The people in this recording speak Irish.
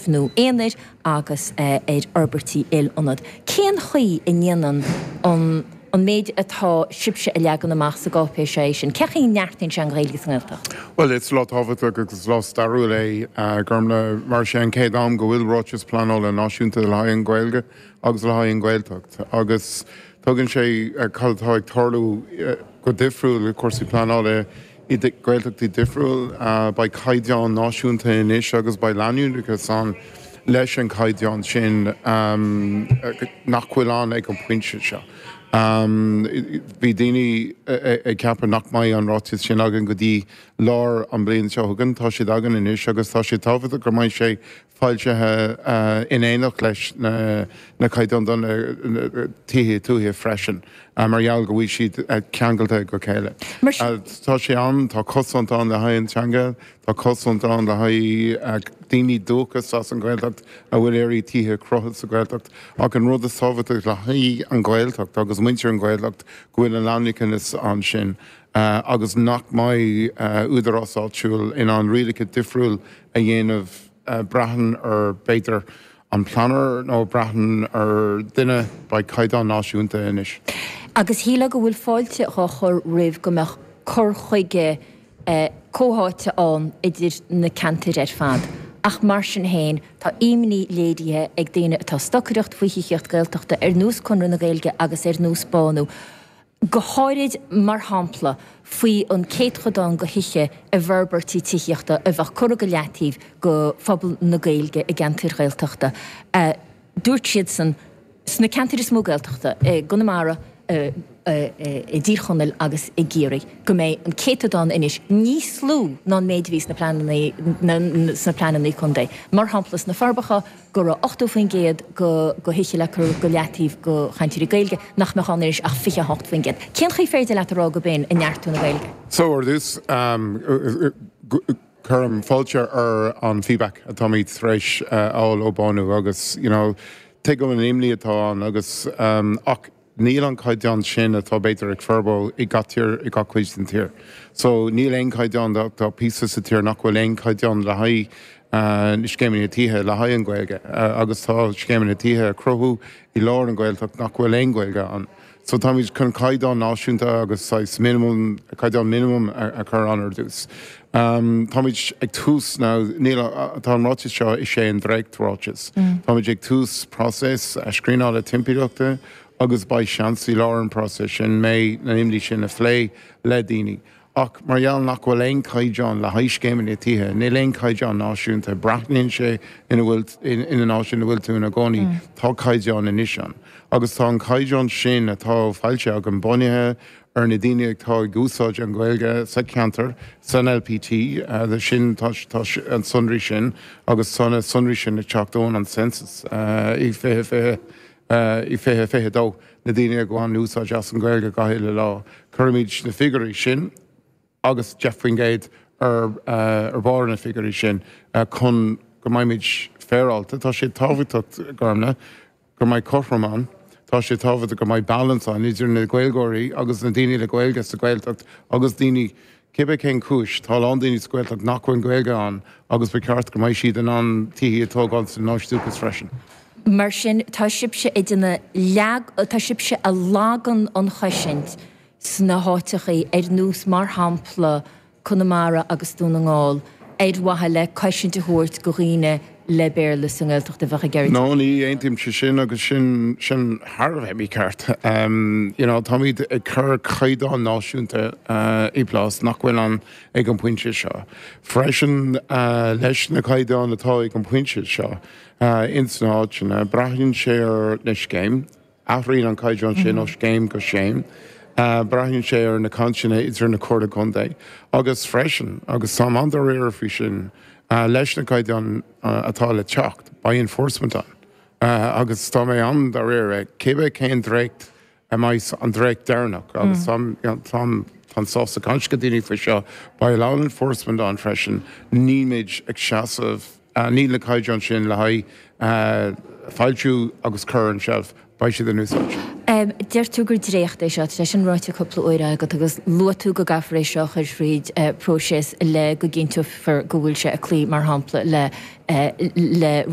Nó aonair agus ar fhorbairtí il-ionad. Cén chaoi a ndéanann an an méid atá sibhse a leagan amach sa gcáipéis seo é sin? Cén chaoi a neartaíonn sé an Ghaeilge sa nGaeltacht? Bhuel, is lá tábhachtach agus is lá stairiúil é, Gormlaith, mar is é an chéad am go bhfuil ráiteas pleanála náisiúnta le haghaidh an Ghaeilge agus le haghaidh an Ghaeltacht agus tugann sé cad atá ag tarlú go difriúil i cúrsaí pleanála I Gaeltachtaí difriúil, beidh caighdeán náisiúnta anois agus beidh leanúnachas ann leis an chaighdeán sin nach bhfuil ann ag an bpointe seo. Bhí daoine ag ceapadh nach mbeidh an ráiteas sin againn go dtí lár an bhliain seo chugainn. Tá siad againn anois agus tá sé tábhachtach go mbeidh sé foilsithe in éineacht leis na caighdeáin do na tithe tuaithe freisin, mar gheall go bhfuil siad ceangailte go chéile. Tá sé ann, tá cosaint ann le haghaidh an teanga, tá cosaint ann le haghaidh daoine dúchas as an Ghaeltacht a bhfuil ag iarraidh tithe a chruthú sa Ghaeltacht. Ach an rud is tábhachtaí le haghaidh an Ghaeltacht agus muintir an Ghaeltacht go bhfuil an leanúnachas ansin agus nach mbeidh údarás áitiúil in ann rialacha difriúil a dhéanamh braitheann ar, b'fhéidir, an pleanálaí nó braitheann ar duine, beidh caighdeán náisiúnta anois. Agus shílfeá go bhfuil fáilte dhá chur roimh go mbeadh cur chuige comhtháite ann idir na ceantair ar fad. Ach mar sin féin, tá imní léirithe ag daoine atá ag stocaireacht faoi thithíocht Gaeltachta ar nós Conradh na Gaeilge agus ar nós Bánú, go háirid, mar shampla, faoi an céatchodán de thithe i bhforbairtí tithíochta a bheadh curtha go leataobh do phobal na Gaeilge i gceantair Ghaeltachta. Dúirt siadsan, sna ceantair is mó Gaeltachta, i gConamara, i dTír Chonaill agus i gCiarraí, go mbeidh an céatadán anois níos lú ná an méid a bhí sna pleananna contae. Mar shampla, sna Forbacha, go raibh 80% de thithe le cur go leataobh do chainteoirí Gaeilge, nach mbeadh ann anois ach 28%. Cén chaoi féidir leat a rá go b'in ag neartú na Gaeilge? So, ar dtús, cuirim fáilte ar an feedback atáimid tar éis a fháil ó Bánú agus, you know, tuigim an imní atá ann agus, ach, Níl an caighdeán sin atá b'fhéidir ag Furbo i gach tír, i gach cuid den tír. So níl aon caighdeán, tá píosa sa tír nach bhfuil aon caighdeán le haghaidh na scéimeanna tithe, le haghaidh an Ghaeilge agus tá scéimeanna tithe a cruthú i lár an Ghaeltacht nach bhfuil aon Ghaeilge ann. So táimid chun caighdeán náisiúnta agus saghas minimum, caighdeán minimum a chur ann ar dtús. Táimid ag tús now, níl, tá an ráiteas seo, is é an dréacht-ráiteas. Táimid ag tús próiseas screenála timpeallachta agus beidh seans i lár an próiseas sin mbeidh na imní sin a phlé le daoine. Ach mar gheall nach bhfuil aon caighdeán le haghaidh scéimeanna tithe, níl aon caighdeán náisiúnta, breathnaíonn sé ina bhfuil, ina áit ina bhfuil tú ina gcónaí, tá caighdeán anois ann. Agus tá an caighdeán sin atá foilsithe againn bunaithe ar na daoine atá ag úsáid an Ghaeilge sa cheantar, san LPT, sin, tá an sonraí sin agus tá na sonraí sin ag teacht ón an census i 2020, i 2022, na daoine a bhain úsáid as an Ghaeilge gach uile lá. Cuirimid na figiúirí sin agus 10% ar ar bharr na figiúirí sin chun go mbeimid féaráilte. Tá sé tábhachtach, Gormlaith, go mbeidh cothrom ann. Tá sé tábhachtach go mbeidh balance ann idir na Gaeilgeoirí agus na daoine le Gaeilge sa Ghaeltacht agus daoine, cibé cén cúis, tá a lán daoine sa Ghaeltacht nach bhfuil Gaeilge ann agus ba cheart go mbeidh siad in ann tithe a tógáil san áit dúchas freisin. Mar sin, tá sibhse ag déanamh leag, tá sibhse a lagan an chosaint sna háiteachaí ar nós, mar shampla, Conamara agus Dún na nGall ar mhaithe le cosaint a thabhairt go dhaoine le Béarla sa nGaeltacht a bheadh ag iarraidh. No, ní aontaímse sin agus sin, sin thar a bheith mícheart. You know, táimid ag cur caighdeán náisiúnta i bplás nach bhfuil ann ag an bpointe seo. Freisin, leis na caighdeáin atá ag an bpointe seo ins na háiteanna, braitheann sé ar na scéim, Athraíonn an caighdeán sin ó scéim go scéim. Braitheann sé ar na cainteanna idir na Comhairle Contae agus freisin, agus táim an-dáiríre faoi sin, leis na caighdeáin atá le teacht, beidh enforcement ann. Agus tá mé an-dáiríre, cibé cén dréacht a mbeidh an dréacht deireanach, agus táim, táim, táim sásta caint le daoine faoi seo, beidh a lán enforcement ann freisin, nílmid ag seasamh, níl na caighdeáin sin le haghaidh. foilsiú agus cur ar an tseilf, beidh siad in úsáid. Deir tú gur dréacht é seo, tá sé sin ráite cúpla uair agat agus luaigh tú go gcaithfear é seo a chur fríd próiseas le go gcinnteofar go bhfuil sé ag cloí, mar shampla, le le.